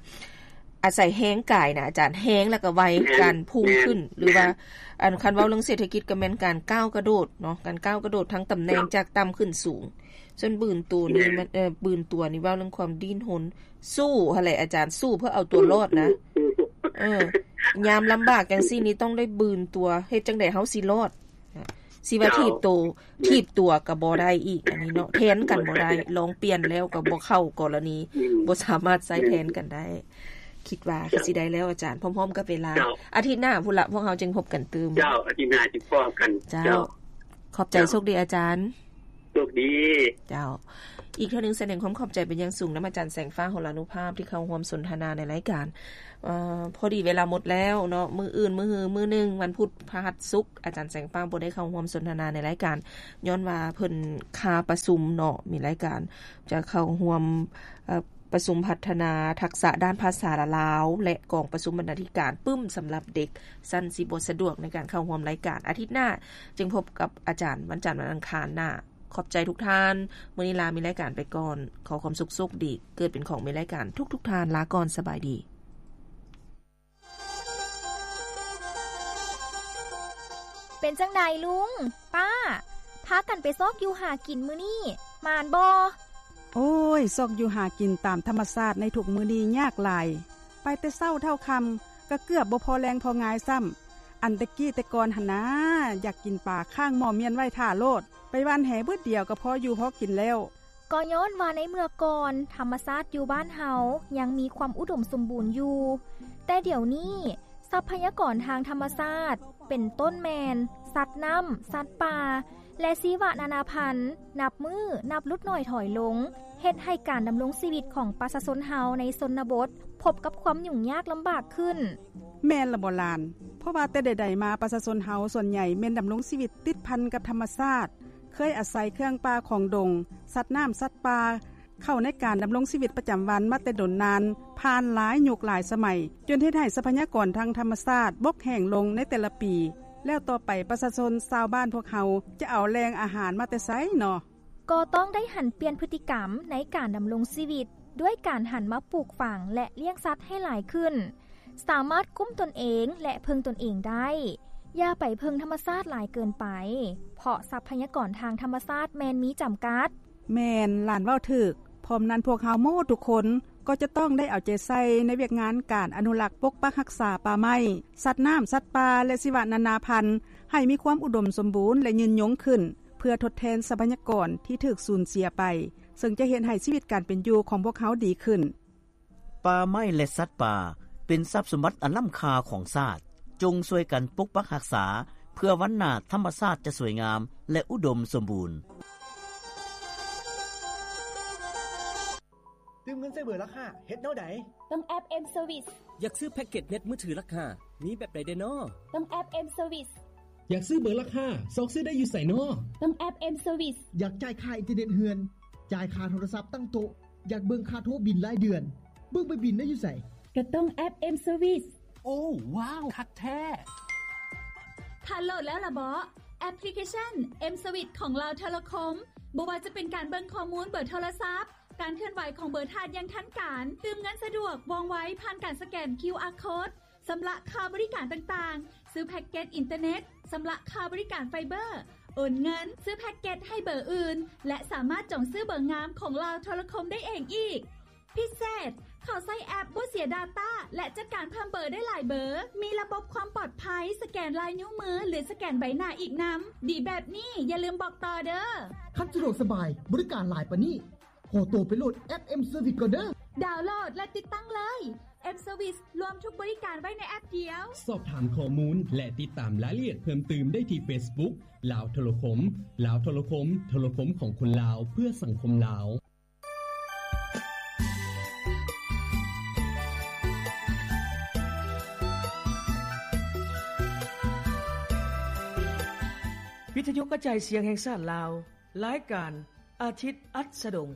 ອາໄສແຮງກາຍນະອາຈານ, ແຮງແລ້ວກໍໄວ ແມ່ນ ການພຸ່ງຂຶ້ນ ແມ່ນ ຫຼືວ່າ ແມ່ນ ອັນ ຄັນເວົ້າເລື່ອງເສດຖະກິດກໍແມ່ນການກ້າວກະໂດດເນາະ, ການກ້າວກະໂດດທາງຕຳແໜ່ງ ເຈົ້າ ຈາກຕ່ຳຂຶ້ນສູງ. ສ່ວນບືນຕົວນີ້ ແມ່ນ ມັນ ເອີ ບືນຕົວນີ້ເວົ້າເລື່ອງຄວາມດີ້ນຮົນ ສູ້ຫັ້ນແຫຼະອາຈານ, ສູ້ເພື່ອເອົາຕົວລອດນະ. ເອີ ຍາມລຳບາກຈັ່ງຊີ້ນີ້ຕ້ອງໄດ້ບືນຕົວ, ເຮັດຈັ່ງໃດເຮົາຊິລອດ? ຊິວ່າ ເຈົ້າ ຖີບໂຕ ແມ່ນ ຖີບຕົວກໍບໍ່ໄດ້ອີກ ອັນນີ້ເນາະ, ແທນກັນບໍ່ໄດ້. ລອງປ່ຽນແລ້ວກໍບໍ່ເຂົ້າກໍລະນີ, ອືມ ບໍ່ສາມາດໃຊ້ແທນກັນໄດ້. ຄິດວ່າ ເຈົ້າ ຄືຊິໄດ້ແລ້ວອາຈານ ພ້ອມໆກັບເວລາ. ເຈົ້າ ອາທິດໜ້າພຸ້ນລະ ພວກເຮົາຈຶ່ງພົບກັນຕື່ມ. ເຈົ້າ ອາທິດໜ້າຊິພໍ້ກັນ. ເຈົ້າ ເຈົ້າ ຂອບໃຈ. ໂຊກດີອາຈານ. ໂຊກດີ. ເຈົ້າ ອີກເທື່ອໜຶ່ງສະແດງຄວາມຂອບໃຈເປັນຢ່າງສູງນຳອາຈານແສງຟ້າ ຫົລານຸພາບ ທີ່ເຂົ້າຮ່ວມສົນທະນາໃນລາຍການ. ເອີ ພໍດີເວລາໝົດແລ້ວເນາະ ມື້ອື່ນ ມື້ຮື ມື້ໜຶ່ງ ວັນພຸດ ພະຫັດ ສຸກ ອາຈານແສງຟ້າບໍ່ໄດ້ເຂົ້າຮ່ວມສົນທະນາໃນລາຍການ ຍ້ອນວ່າເພິ່ນຄາປະຊຸມເນາະ ມີລາຍການຈະເຂົ້າຮ່ວມ ເອີ ປະຊຸມພັດທະນາທັກສະດ້ານພາສາລາວ ແລະ ກອງປະຊຸມບັນນາທິການປຶ້ມສຳລັບເດັກ ຊັ້ນຊິບໍ່ສະດວກໃນການເຂົ້າຮ່ວມລາຍການ. ອາທິດໜ້າຈຶ່ງພົບກັບອາຈານວັນຈັນ ວັນອັງຄານໜ້າ. ຂອບໃຈທຸກທ່ານ. ມື້ນີ້ລາມີລາຍການໄປກ່ອນ. ຂໍຄວາມສຸກໂຊກດີ ເກີດເປັນຂອງມີລາຍການທຸກໆທ່ານ. ລາກ່ອນ. ສະບາຍດີ. ເປັນຈັ່ງໃດລຸງ ປ້າ ພາກັນໄປຊອກຢູ່ຫາກິນມື້ນີ້ ໝານບໍ່? ໂອ້ຍ ຊອກຢູ່ຫາກິນຕາມທຳມະຊາດໃນທຸກມື້ນີ້ຍາກຫຼາຍ. ໄປແຕ່ເຊົ້າເທົ່າຄ່ຳ ກໍເກືອບບໍ່ພໍແລງພໍງາຍຊ້ຳ. ອັນແຕ່ກີ້ແຕ່ກ່ອນຫັ້ນນາ ຢາກກິນປາຄ້າງໝໍ້ມ້ຽນໄວ້ຖ້າໂລດ. ໄປຫວ່ານແຫບຶດດຽວກໍພໍຢູ່ພໍກິນແລ້ວ. ກໍຍ້ອນວ່າໃນເມື່ອກ່ອນ ທຳມະຊາດຢູ່ບ້ານເຮົາຍັງມີຄວາມອຸດົມສົມບູນຢູ່, ແຕ່ດຽວນີ້ ຊັບພະຍາກອນທາງທຳມະຊາດ ເປັນຕົ້ນແມ່ນ ສັດນ້ຳ, ສັດປ່າ ແລະ ຊີວະນານາພັນ ນັບມື້ນັບຫຼຸດໜ້ອຍຖອຍລົງ, ເຮັດໃຫ້ການດຳລົງຊີວິດຂອງປະຊາຊົນເຮົາໃນຊົນນະບົດ ພົບກັບຄວາມຫຍຸ້ງຍາກລຳບາກຂຶ້ນ. ແມ່ນລະບໍຫຼານ? ເພາະວ່າແຕ່ໃດໆມາ ປະຊາຊົນເຮົາສ່ວນໃຫຍ່ແມ່ນດຳລົງຊີວິດຕິດພັນກັບທຳມະຊາດ, ເຄີຍອາໄສເຄື່ອງປ່າຂອງດົງ, ສັດນ້ຳ, ສັດປ່າ ເຂົ້າໃນການດຳລົງຊີວິດປະຈຳວັນມາແຕ່ດົນນານ, ຜ່ານຫຼາຍຍຸກຫຼາຍສະໄໝ, ຈົນເຮັດໃຫ້ຊັບພະຍາກອນທາງທຳມະຊາດບົກແຫ້ງລົງໃນແຕ່ລະປີ. ແລ້ວຕໍ່ໄປປະຊາຊົນຊາວບ້ານພວກເຮົາຈະເອົາແຫຼ່ງອາຫານມາແຕ່ໃສເນາະ? ກໍຕ້ອງໄດ້ຫັນປ່ຽນພຶດຕິກຳໃນການດຳລົງຊີວິດ ດ້ວຍການຫັນມາປູກຝັງ ແລະ ລ້ຽງສັດໃຫ້ຫຼາຍຂຶ້ນ, ສາມາດກຸ້ມຕົນເອງ ແລະ ເພິ່ງຕົນເອງໄດ້. ຢ່າໄປເພິ່ງທຳມະຊາດຫຼາຍເກີນໄປ, ເພາະຊັບພະຍາກອນທາງທຳມະຊາດແມ່ນມີຈຳກັດ. ແມ່ນ, ຫຼານເວົ້າຖືກ. ພ້ອມນັ້ນພວກເຮົາໝົດທຸກຄົນກໍຈະຕ້ອງໄດ້ເອົາໃຈໃສ່ໃນວຽກງານການອະນຸລັກປົກປັກຮັກສາປ່າໄມ້, ສັດນ້ຳ, ສັດປ່າ ແລະ ຊີວະນານາພັນ ໃຫ້ມີຄວາມອຸດົມສົມບູນ ແລະ ຍືນຍົງຂຶ້ນ, ເພື່ອທົດແທນຊັບພະຍາກອນທີ່ຖືກສູນເສຍໄປ, ເຊິ່ງຈະເຮັດໃຫ້ຊີວິດການເປັນຢູ່ຂອງພວກເຮົາດີຂຶ້ນ. ປ່າໄມ້ ແລະ ສັດປ່າ ເປັນຊັບສົມບັດອັນລ້ຳຄ່າຂອງຊາດ. ຈົ່ງຊ່ວຍກັນປົກປັກຮັກສາ ເພື່ອວັນໜ້າທຳມະຊາດຈະສວຍງາມ ແລະ ອຸດົມສົມບູນ. ຕື່ມເງິນໃສ່ເບີລາຄາ ເຮັດແນວໃດ? ເຕີມແອັບ M Service. ຢາກຊື້ແພັກເກັດເນັດມືຖືລາຄາ ມີແບບໃດແດ່ນໍ? ເຕີມແອັບ M Service. ຢາກຊື້ເບີລາຄາ ຊອກຊື້ໄດ້ຢູ່ໃສນໍ? ເຕີມແອັບ M Service. ຢາກຈ່າຍຄ່າອິນເຕີເນັດເຮືອນ, ຈ່າຍຄ່າໂທລະສັບຕັ້ງໂຕະ, ຢາກເບິ່ງຄ່າໂທບິນລາຍເດືອນ, ເບິ່ງໃບບິນໄດ້ຢູ່ໃສ? ກໍເຕີມແອັບ M Service. ໂອ້ ວ້າວ ຄັກແທ້! ທ່ານໂຫຼດແລ້ວລະເບາະ ແອັບພລິເຄຊັນ M Service ຂອງລາວໂທລະຄົມ? ບໍ່ວ່າຈະເປັນການເບິ່ງຂໍ້ມູນເບີໂທລະສັບ, ການເຄື່ອນໄຫວຂອງເບີທ່ານຢ່າງທັນການ, ຕື່ມເງິນສະດວກ, ວ່ອງໄວ, ຜ່ານການສະແກນ ຄິວອາ ໂຄດ, ຊຳລະຄ່າບໍລິການຕ່າງໆ, ຊື້ແພັກເກັດອິນເຕີເນັດ, ຊຳລະຄ່າບໍລິການໄຟເບີ, ໂອນເງິນ, ຊື້ແພັກເກັດໃຫ້ເບີອື່ນ ແລະ ສາມາດຈອງຊື້ເບີງາມຂອງລາວໂທລະຄົມໄດ້ເອງອີກ. ພິເສດ, ເຂົ້າໃຊ້ແອັບບໍ່ເສຍດາຕ້າ ແລະ ຈັດການເພີ່ມເບີໄດ້ຫຼາຍເບີ, ມີລະບົບຄວາມປອດໄພ, ສະແກນລາຍນິ້ວມື ຫຼື ສະແກນໃບໜ້າອີກນຳ. ດີແບບນີ້ ຢ່າລືມບອກຕໍ່ເດີ້. ຄັນສະດວກສະບາຍ, ບໍລິການຫຼາຍປານນີ້, ຂໍໂຕໄປໂຫຼດແອັບ M Service ກ່ອນເດີ້. ດາວໂຫຼດ ແລະ ຕິດຕັ້ງເລີຍ. M Service ລວມທຸກບໍລິການໄວ້ໃນແອັບດຽວ. ສອບຖາມຂໍ້ມູນ ແລະ ຕິດຕາມລາຍລະອຽດເພີ່ມຕື່ມໄດ້ທີ່ Facebook ລາວໂທລະຄົມ. ລາວໂທລະຄົມ, ໂທລະຄົມຂອງຄົນລາວ ເພື່ອສັງຄົມລາວ. ວິທະຍຸກະຈາຍສຽງແຫ່ງຊາດລາວ, ລາຍການ ອາທິດ ອັດສະດົງ.